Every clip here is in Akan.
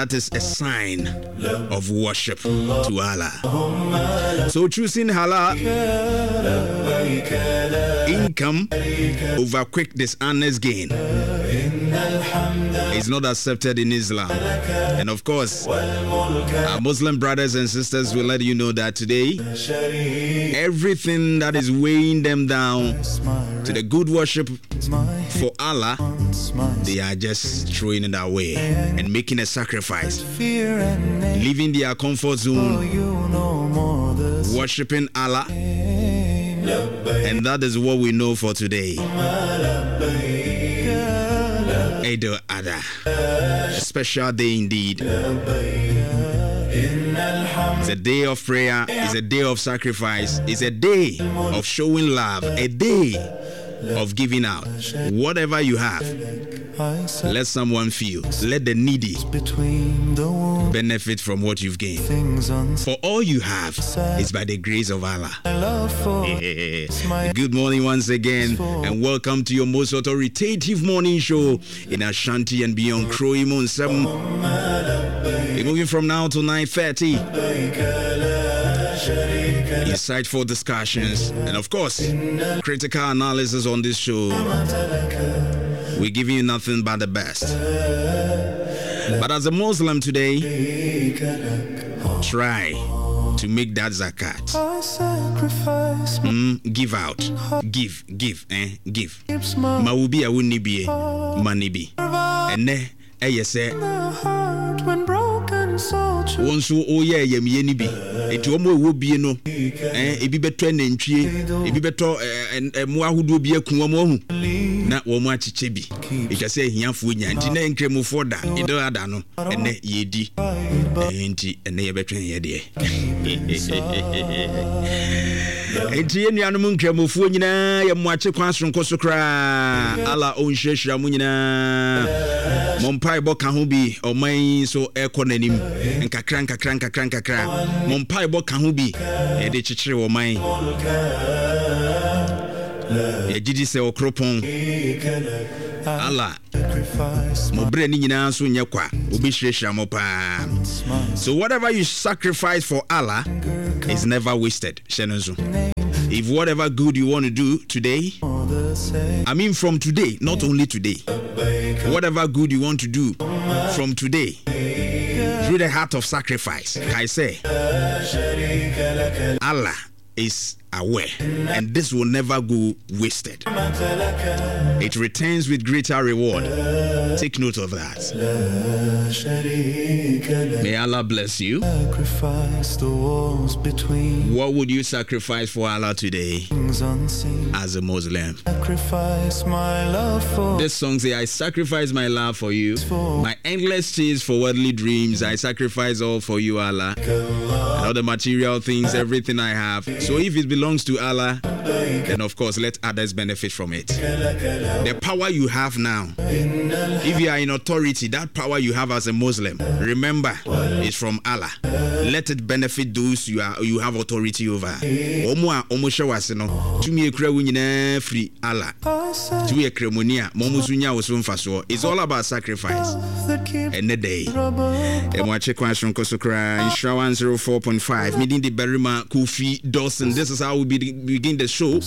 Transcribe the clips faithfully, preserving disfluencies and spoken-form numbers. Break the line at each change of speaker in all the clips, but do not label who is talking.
That is a sign of worship to Allah. So choosing halal income over quick dishonest gain is not accepted in Islam. And of course, our Muslim brothers and sisters will let you know that today, everything that is weighing them down to the good worship for Allah, they are just throwing it away and making a sacrifice, leaving their comfort zone, worshiping Allah. And that is what we know for today. Eid al-Adha. A special day indeed. It's a day of prayer, it's a day of sacrifice, it's a day of showing love, a day of giving out. Whatever you have, let someone feel. Let the needy benefit from what you've gained. For all you have is by the grace of Allah. Good morning once again, and welcome to your most authoritative morning show in Ashanti and beyond. Kroimon seven. We're moving from now to nine thirty. Insightful discussions and, of course, critical analysis on this show. We give you nothing but the best. But as a Muslim today, try to make that zakat. Mm, give out. Give, give, eh, give. Ma wo bi a wonni bie, ma ne bi. Ɛnɛ ɛyɛ sɛ wɔn nso woyɛ ayamyie no bi, nti wɔn a ɛwɔ bie no, eh, ebi bɛtɔ nantwie, ebi bɛtɔ mmoa ahodoɔ bi aku wɔn ahu na wɔn akyekyɛ bi, ɛtwa sɛ ahiafoɔ nya. Nti na nkramofoɔ da Eid Adha no, ɛnɛ yɛdi, nti ɛnɛ yɛbɛtwɛn yɛ deɛ. Nti yɛn nuanom nkramofoɔ nyinaa, yɛ mmoakye kwan soronko so koraa. Allah ɔnhyirahyira mo nyinaa. Mo mpaebɔ ka ho bi, ɔman yi nso ɛkɔ n'anim nkakra nkakra nkakra nkakra. Mo mpaebɔ ka ho bi yɛde kyekyere ɔman. Yɛgye di sɛ ɔkoropɔn Allah, mo berɛ ne nyinaa nso nyɛ kwa, wobɛhyirahyira mo paa. So whatever you sacrifice for Allah is never wasted. Hyɛ no nso, if whatever good you want to do today, I mean from today, not only today, whatever good you want to do from today through the heart of sacrifice, I say Allah is aware and this will never go wasted. It returns with greater reward. Take note of that. May Allah bless you. What would you sacrifice for Allah today as a Muslim? This song say, "I sacrifice my love for you, my endless chase for worldly dreams. I sacrifice all for you, Allah. And all the material things, everything I have." So if it belongs to Allah, then of course let others benefit from it. The power you have now, if you are in authority, that power you have as a Muslim, remember, is from Allah. Let it benefit those you are you have authority over. Ɔmo a ɔmo hyɛ wase no, tumi ekura wo nyinaa firi Allah. Tumi yɛ kramoni a, ma ɔmo nso nya wo so mfasoɔ. It's all about sacrifice. Ɛnɛ da yi, ɛmo akye kwan soronko so koraa. Nhyira one oh four point five. Meeting the Barima Kofi Dawson. This is how we be, begin the show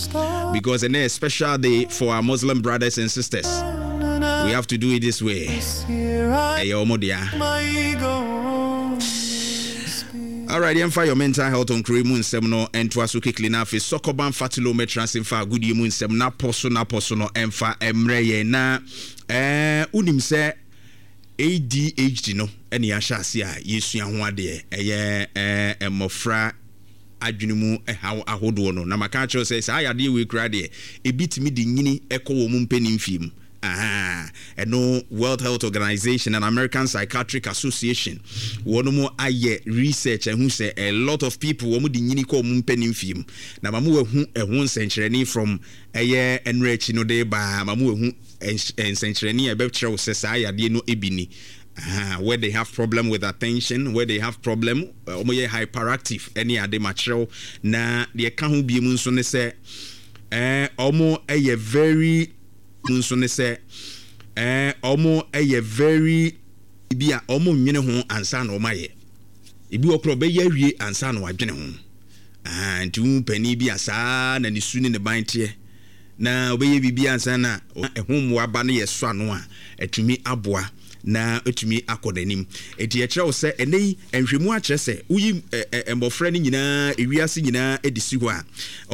because ɛnɛ a special day for our Muslim brothers and sisters. We have to do it this way. Ɛyɛ ɔmo dea. Alright, yɛmfa your mental health on kuro mu nsɛm no ntoa so quickly, na afei sɔkɔban fatilo mɛtena ase mfa agodie mu nsɛm na pɔ so na pɔ so no ɛmfa mmerɛ yɛn. Na ɛɛ wonim sɛ A D H D no ɛne yɛahyɛ ase a yɛsua ho adeɛ, ɛyɛ ɛɛ mmɔfra adwene mu ɛhaw ahodoɔ no, na maka akyerɛ sɛ saa yadeɛ wei koraa deɛ, ebi tumi de nyini ɛkɔ wɔn mu mpanin fie mu. Ɛno World Health Organization and American Psychiatric Association wɔn mo ayɛ research ɛho sɛ a lot of people wɔn de nyini kɔ wɔn mpanin fie mu, na mamu ehu ɛho nsɛnkyerɛnne from ɛyɛ ɛnura akyi no de baa. Mamu ehu nsɛnkyerɛnne a ɛbɛkyerɛ wo sɛ saa yadeɛ no ebi ni. Uh, where they have problem with attention, where they have problem, wɔn yɛ hyperactive ɛne ade makyerɛw. Na deɛ ka ho bie mu nso ne sɛ ɛɛ wɔn yɛ very nso ne sɛ ɛɛ wɔn yɛ very biribi a, wɔn nnwene ho ansa na wɔn ayɛ. Ebi wɔ koraa ɔbɛyɛ awie ansa na wadwene ho. Ahaa, nti wohu panin bi a saa na ne su ne ne ban teɛ. Na ɔbɛyɛ biribi ansa na ɛho mmoa ba no yɛ sɔ ano a, atumi aboa na atumi akɔ n'anim. Enti yɛkyerɛ wo sɛ ɛnnɛ yi nhwɛmu akyerɛ sɛ woyi mmɔfra no nyinaa, ewiase nyinaa de si hɔ a,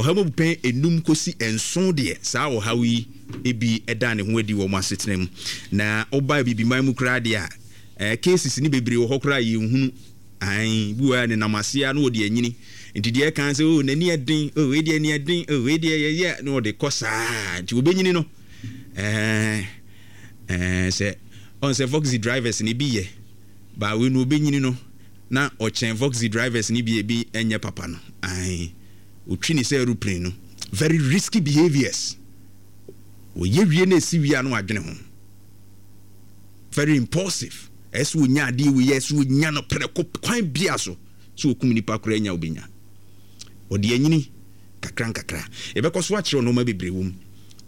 ɔha mu abupɛn enum kɔsi nson deɛ saa ɔhaw yi bi da ne ho adi wɔ wɔn asetena mu. Na woba Abibiman mu koraa deɛ a, cases no bebree wɔ hɔ koraa a yɛnhunu. Aane, bi wɔ hɔ a nenam aseɛ ara na ɔde anyini. Nti deɛ ɛka sɛ, oh, n'ani yɛ den, oh, wei deɛ ani yɛ den, oh, wei deɛ yɛyɛ, na ɔde kɔ saa. Nti ɔbɛnyini no, ɛɛ, ɛɛ, sɛ, ɔn sɛ voxy drivers no ebi yɛ, baa wei no ɔbɛnyini no, na ɔkyɛn voxy drivers no bi a ebi nyɛ papa no. Aane, ɔtwi ne sɛ aeroplane no. Very risky behaviours. Ɔyɛ wie na ɛsi wie a na wadwene ho. Very impulsive. Ɛyɛ sɛ ɔnya adeɛ wei, ɛyɛ sɛ ɔnya no prɛko kwan bia so. Sɛ ɔkum nipa koraa nya ɔbɛnya. Ɔde anyini kakra nkakra. Yɛbɛkɔ so akyerɛw nnoɔma bebree wɔ mu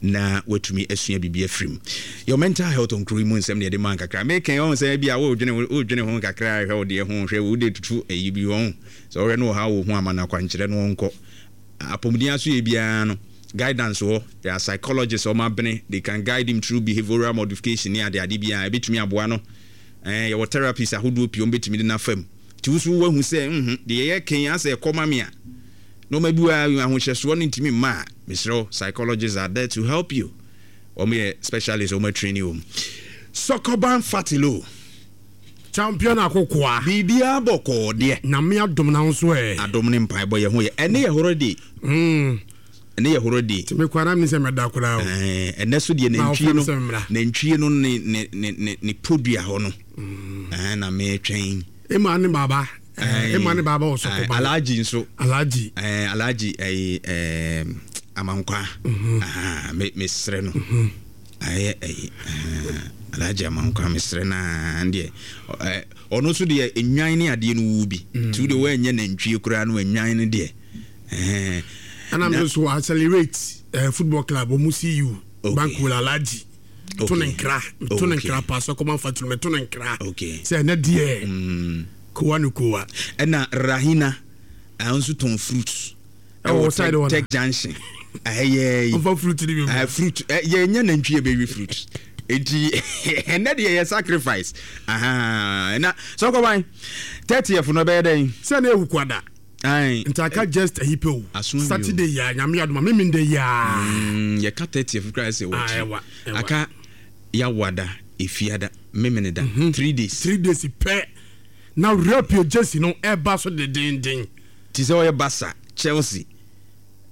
na watumi asua biribi afiri mu. Your mental health nkuro yi mu nsɛm na yɛde maa nkakra. Mekɛn ɔhu sɛ bi a wodwene wodwene ho nkakra hwɛ wo deɛ ho hwɛ wode tutu ayi bi ɔhu sɛ ɔhwɛ no ɔha wɔ ho ama no akwankyerɛ no ɔnkɔ apɔmuden aso yɛ biara no guidance wɔ there are psychologists wɔn abene they can guide him through behavioral modification ne ade ade biara ɛbɛtumi aboa no ɛɛ yɛwɔ therapies ahodoɔ pii wɔn bɛtumi de no afa mu. Nti wo nso woahu sɛ nhu deɛ yɛyɛ kan asɛ ɛkɔ ma me a nnoɔma bi wɔ a ahohyɛsoɔ no ntumi mma a, mesrɛ wo, psychologists are there to help you. Wɔn yɛ specialists, wɔn atraini wɔn. Sɔkɔban Fatilo.
Champion Akokoa.
Biribiara bɔkɔɔ deɛ.
Nyame adom na wo nso ɛ.
Adom ne mpaebɔ yɛ ho yɛ. Ɛne yɛ horo de.
Mm.
Ɛnɛ yɛ holiday.
Nti me koraa na menim sɛ mɛda koraa o.
Ɛɛ ɛnɛ so deɛ nantwie no nantwie no ne ne ne ne ne podua hɔ no. Ɛɛ na metwɛn.
Ema ne baba. Ɛɛ ema ne baba wɔ sɔkɔba.
Alhaji nso.
Alhaji.
Ɛɛ Alhaji ɛyi ɛɛ Amankwa. Ahaa me mesrɛ no. Ayɛ ɛyi ɛɛ Alhaji Amankwa mesrɛ no aa deɛ ɛɛ ɔno nso deɛ nnwan ne adeɛ no wu bi. Nti wo deɛ woanyɛ nantwie koraa no nnwan no deɛ.
Ɛna me nso accelerate eh, football club ɔmo see you okay. Bank Alhaji okay. To ne nkra to ne nkra paa sɛ kɔma fa tunu me to ne nkra
okay.
Sɛ ɛnɛ deɛ mm. Kowa no kowa.
Ɛna Rahina ɛno nso tɔn fruits
ɛwɔ side
hɔ Tech Junction ɛyɛ
yi ɔfa fruit ni bi mu
fruit yɛ nyɛ nantwi yɛ bɛwi fruit nti ɛnɛ deɛ yɛ sacrifice na sɛ ɔkɔban thirtieth no ɛbɛyɛ dɛn
sɛ na ewu kwada.
Ae.
Nti aka just ayi pɛ o.
Aso awie o.
Saturday yi a, Nyame adom a, Memenda yi a.
Mm, yɛka thirtieth koraa sɛ
Ah,
wɔkyi.
ɛwa, ɛwa.
Aka Yawada, Efiada, Memeneda, three days.
Three days pɛ na Real jersey no ɛba so dedeenden.
Te sɛ ɔyɛ Barca, Chelsea,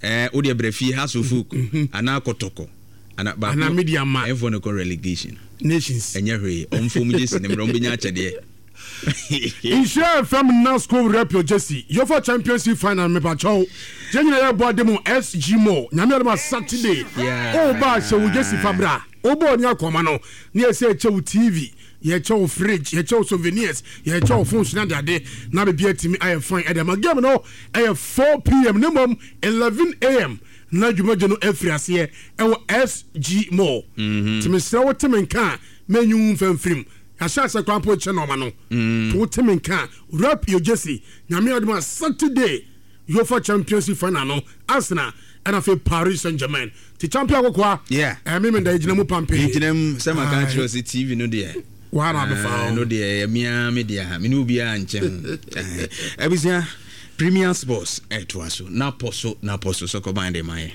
eh, wo deɛ brɛ fie, Hearts of Oak, anaa Kɔtɔkɔ, anaa baako.
Anaa Medeama.
Ɛnfoɔ no kɔ relegation.
Nations.
Ɛnyɛ hwee, ɔmfom jersey no mmerɛ, ɔmbɛnya akyɛdeɛ.
Nhyira F M Nasco Repio Jersey Uefa Champions League final mepakyɛw yɛn nyinaa yɛbɔ ade mu S G Mall. Nyame adom a, Saturday woba a, hyɛ wo jersey fa bra. Wobɔ ni akɔma no na yɛsɛ yɛkyɛ wo T V, yɛkyɛ wo fridge, yɛkyɛ wo souvenirs, yɛkyɛ wo phones na adeade na biribi atumi ayɛ fine. Ɛde ama game no ɛyɛ four p m ne mmom eleven a m na dwumadie no afiri aseɛ ɛwɔ S G Mall. Nti mesrɛ wo, te me nka a mɛnyi wo mfa mfirim. Yɛahyɛ asɛ kwan po kyɛ nɔɔma no to wo te me nka a rep your jersey. Nyame adom a, Saturday UEFA Champions League final no, Arsenal ɛna afei Paris Saint Germain ti champion akokoa.
Yeah.
Ɛmi mi da gyina mu pampe.
Gyina mu sɛ maka kyerɛ sɛ T V no deɛ
waa na abɛfa.
No deɛ ɛyɛ mea me deɛ a mene obiara nkyɛn ho. Abusua, Premier Sports ɛtoa so napɔ so napɔ so sɛ kɔban de ma yɛ.